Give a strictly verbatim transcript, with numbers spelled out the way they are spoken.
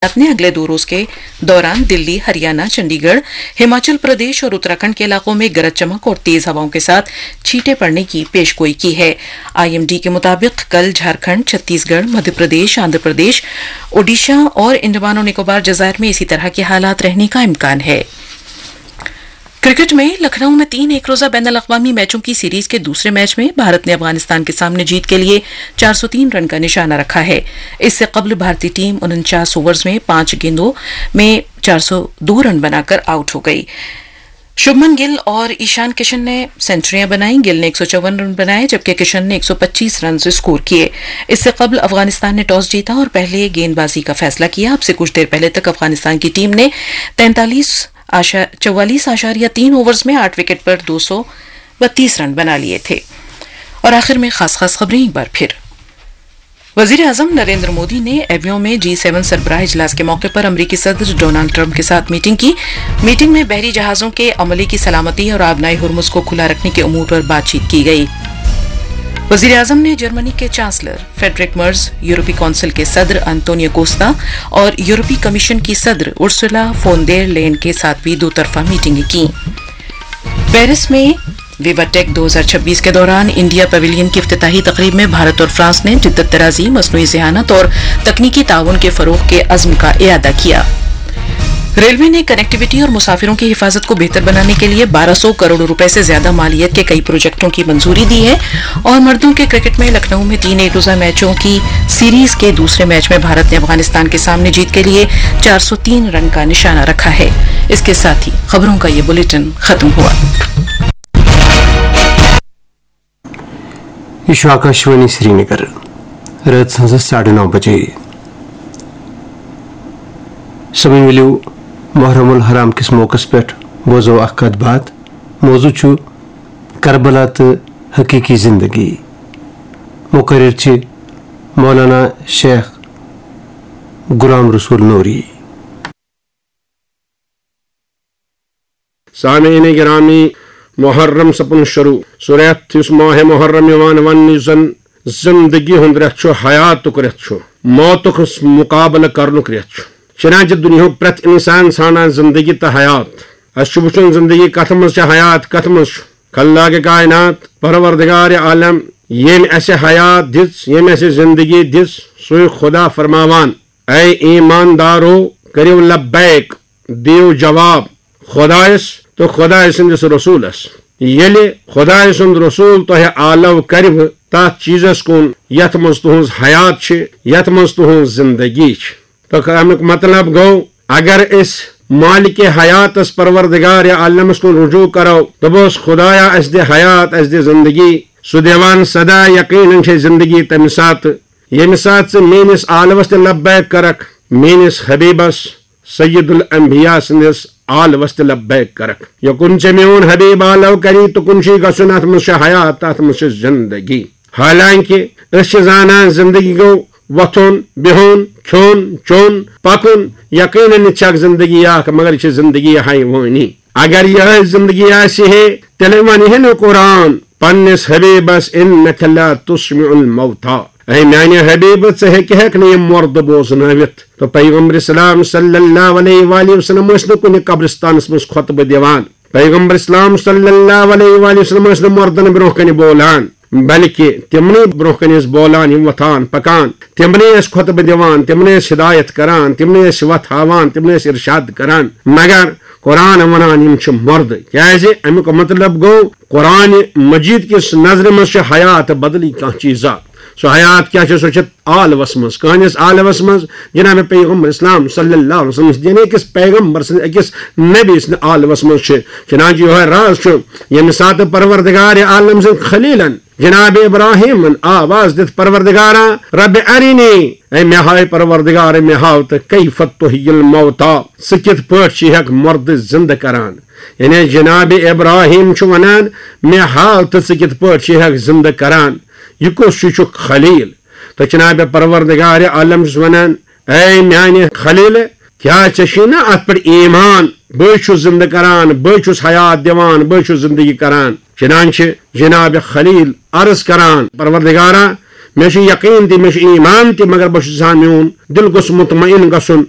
محکمہ نے اگلے دو روز کے دوران دلی، ہریانہ، چنڈی گڑھ، ہماچل پردیش اور اتراکھنڈ کے علاقوں میں گرج چمک اور تیز ہواؤں کے ساتھ چھینٹیں پڑنے کی پیش گوئی کی ہے۔ آئی ایم ڈی کے مطابق کل جھارکھنڈ، چھتیس گڑھ، مدھیہ پردیش، آندھرا پردیش، اوڈیشہ اور انڈمان و نکوبار جزائر میں اسی طرح کے حالات رہنے کا امکان ہے۔ کرکٹ میں لکھنؤ میں تین ایک روزہ بین الاقوامی میچوں کی سیریز کے دوسرے میچ میں بھارت نے افغانستان کے سامنے جیت کے لیے چار سو تین رن کا نشانہ رکھا ہے۔ اس سے قبل بھارتی ٹیم انچاس اوورز میں پانچ گیندوں میں چار سو دو رن بنا کر آؤٹ ہو گئی۔ شبمن گل اور ایشان کشن نے سینچریاں بنائیں۔ گل نے ایک سو چون رن بنائے، جبکہ کشن نے ایک سو پچیس رنز اسکور کیے۔ اس سے قبل افغانستان نے ٹاس جیتا اور پہلے گیند بازی کا فیصلہ کیا۔ اب سے کچھ دیر پہلے تک افغانستان کی ٹیم نے تینتالیس آشا-، چوالیس اعشاریہ تین اوورز میں آٹھ وکٹ پر دو سو بتیس رن بنا لیے تھے۔ اور آخر میں خاص خاص خبریں ایک بار پھر۔ وزیر اعظم نریندر مودی نے ایویو میں جی سیون سربراہ اجلاس کے موقع پر امریکی صدر ڈونلڈ ٹرمپ کے ساتھ میٹنگ کی۔ میٹنگ میں بحری جہازوں کے عملے کی سلامتی اور آبنائے ہرمز کو کھلا رکھنے کے امور پر بات چیت کی گئی۔ وزیر اعظم نے جرمنی کے چانسلر فریڈرک مرز، یورپی کونسل کے صدر انتونیو کوستا اور یورپی کمیشن کی صدر ارسولا فون دیر لین کے ساتھ بھی دو طرفہ میٹنگیں کیں۔ پیرس میں ویوا ٹیک دو ہزار چھبیس کے دوران انڈیا پویلین کی افتتاحی تقریب میں بھارت اور فرانس نے جدت درازی، مصنوعی ذہانت اور تکنیکی تعاون کے فروغ کے عزم کا اعادہ کیا۔ ریلوے نے کنیکٹیویٹی اور مسافروں کی حفاظت کو بہتر بنانے کے لیے بارہ سو کروڑ روپے سے زیادہ مالیت کے کئی پروجیکٹوں کی منظوری دی ہے۔ اور مردوں کے کرکٹ میں لکھنؤ میں تین ایک روزہ میچوں کی سیریز کے دوسرے میچ میں بھارت نے افغانستان کے سامنے جیت کے لیے چار سو تین رن کا نشانہ رکھا ہے۔ اس کے ساتھ ہی خبروں کا یہ بلیٹن ختم ہوا۔ یہ چھُ آکاشوانی سرینگر۔ رٲژ ہٕنٛزٕ ساڑٕ نَو بجے۔ سٲمیٖن، ؤلِو محرم الحرام کِس موقعس پٮ۪ٹھ بوزو اکھ کتھ باتھ۔ موضوع چھُ کربلا تہٕ حقیقی زندگی۔ مقرر چھِ مولانا شیخ غلام رسول نوری۔ سامعین گرامی، محرم سپُن شروع۔ سُہ رٮ۪تھ یُس ماہِ محرم یِوان وننہٕ، یُس زن زندگی ہُنٛد رٮ۪تھ چھُ، حیاتُک رٮ۪تھ چھُ، موتُک مقابلہٕ کرنُک رٮ۪تھ چھُ۔ چنانچہ دُنیاہُک پرٛٮ۪تھ انسان ژھانڈان زندگی تہٕ حیات۔ اسہِ چھُ وُچھُن زندگی کتھ منٛز چھِ، حیات کتھ منٛز چھُ۔ خلاق کائنات، پروردگار عالم، ییٚمۍ اسہِ حیات دِژ، ییٚمۍ اسہِ زندگی دِژ، سُے خدا فرماوان، اے ایماندارو، کٔرِو لبیک، دِیِو جواب خۄدایَس تہٕ خۄدایہِ سٕنٛدِس رسوٗلَس۔ ییٚلہِ خۄدایہِ سُنٛد رسوٗل تۄہہِ آلو کَرِوٕ تَتھ چیٖزَس کُن یَتھ منٛز تُہٕنٛز حیات چھِ، یَتھ منٛز تُہٕنٛز زِندگی چھِ۔ تہٕ اَمیُک مطلب گوٚو، اگر أسۍ مالکِ حیاتَس، پروردگارِ عالمَس کُن رجوع کَرو، دوٚپوس، خۄدایا، اَسہِ دِ حیات، اَسہِ دِ زِندگی، سُہ دِوان سدا، یقیناً چھے زِندگی تَمہِ ساتہٕ، ییٚمہِ ساتہٕ ژٕ میٛٲنِس آلوَس تہِ لبیک کَرَکھ، میٛٲنِس حبیٖبَس سید الانبیاء سٕنٛدِس آلوَس تہِ لبیک کَرَکھ۔ یوٚکُن ژےٚ میون حبیٖب آلو کَری، تُکُن چھُے گژھُن، اَتھ منٛز چھِ حیات، اَتھ منٛز چھِ زِندگی۔ حالانکہِ أسۍ چھِ زانان زِندگی گوٚو وۄتھُن، بِہُن، کھیوٚن، چیوٚن، پَکُن۔ یقیناً چھَکھ زِندگی اَکھ، مگر یہِ چھِ زِندگی حیوٲنی۔ اگر یِہوٚے زِندگی آسہِ ہے، تیٚلہِ وَنہِ ہے نہٕ قرآن پنٛنِس حبیٖبَس، "انک لا تسمع الموتیٰ"۔ اے میانہِ حبیبہٕ، ژٕ ہیٚکہِ ہیٚکھ نہٕ یِم مردٕ بوزنٲوِتھ۔ تہٕ پیغمبر اسلام صلی اللہ علیہ وآلہ وسلم ٲسۍ نہٕ کُنہِ قبرستانس منٛز خطبہٕ دِوان۔ پیغمبر اسلام صلی اللہ علیہ وآلہ وسلم ٲسۍ نہٕ مردن برونٛہہ کنہِ بولان، بلکہِ تِمنٕے برونٛہہ کنہِ ٲسۍ بولان، یِم وۄتھان پکان، تِمنٕے ٲسۍ خطبہٕ دِوان، تِمنٕے ٲسۍ ہدایت کران، تِمنٕے ٲسۍ وتھ ہاوان، تِمنٕے ٲسۍ ارشاد کران۔ مگر قرآن ونان، یِم چھِ مردٕ۔ کیازِ؟ امیُک مطلب گوٚو، قرآن مجید کِس نظرِ منٛز چھِ حیات بدلی کانٛہہ چیٖزا۔ سۄ حیات کیٛاہ چھِ؟ سۄ چھِ آلوَس منٛز۔ کٕہٕنٛدِس آلوَس منٛز؟ جناب پیغمبر اسلام صلی اللہ علیہ وسلم سٕنٛدِ، یعنی أکِس پیغمبر سٕنٛدِ، أکِس نبی سٕنٛدِ آلوَس منٛز چھِ۔ چنانچہ یِہوٚے راز چھُ، ییٚمہِ ساتہٕ پروردگار عالم سٕنٛدۍ خلیلن جناب ابراہیمن آواز دِتھ، پروردگارا، رب ارینی، اے مےٚ ہاو پروردگار، مےٚ ہاو تہٕ کیف تحیی الموتیٰ، ژٕ کِتھ پٲٹھۍ چھِ ہیٚکھ مردٕ زندٕ کران؟ یعنی جناب ابراہیم چھُ ونان، مےٚ ہاو تہٕ ژٕ کِتھ پٲٹھۍ چھِ ہیٚکھ زندٕ کران؟ یہِ کُس ہیوٗ چھُکھ خلیل؟ تہٕ جناب پروردگار عالم چھُس ونان، اے میانہِ خلیل، کیٛاہ ژےٚ چھُے نہ اتھ پٮ۪ٹھ ایمان؟ بٕے چھُس زندٕ کران، بٕے چھُس حیات دِوان، بٕے چھُس زندگی کران۔ چنانچہ جناب خلیل عرض کران، پروردگارا، مےٚ چھُ یقین تہِ، مےٚ چھُ ایمان تہِ، مگر بہٕ چھُس یژھان میون دل گوٚژھ مطمئن گژھُن۔